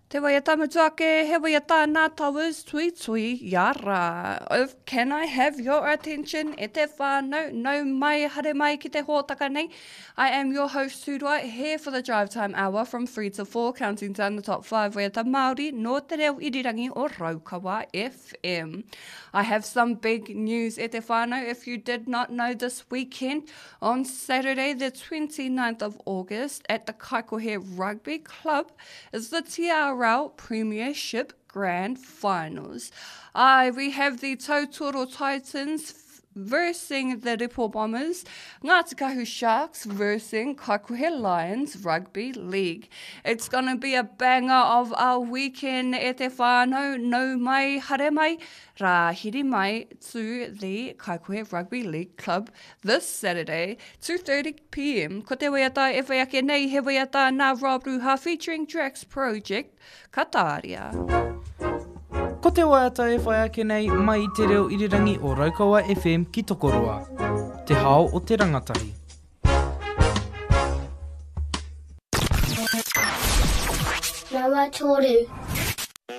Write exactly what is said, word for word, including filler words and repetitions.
Te waiata mutu ake, he waiata nā Towers Tuitui Iara. Of Can I Have Your Attention e te whānau, nau mai, haere mai ki te hōtaka nei. I am your host Tūroa, here for the drive time hour from three to four, counting down the top five waiata Māori nō te reo irirangi o Raukawa F M. I have some big news e te whānau. If you did not know, this weekend, on Saturday the twenty-ninth of August at the Kaikohe Rugby Club is the T R L Premiership Grand Finals. Uh, we have the Tautoro Titans versing the Ripo Bombers, Ngāti Kahu Sharks versing Kaikohe Lions Rugby League. It's gonna be a banger of a weekend e te whānau, nau mai, haere mai, rāhiri mai to the Kaikohe Rugby League Club this Saturday, two thirty p m. Ko te waiata e whai ake nei, he waiata nā Rob Ruha featuring Drax Project, Kataria. Ko te waiata e whai ake nei mai i te reo irirangi o Raukawa F M ki Tokoroa. Te hao o te rangatahi. Nama toru.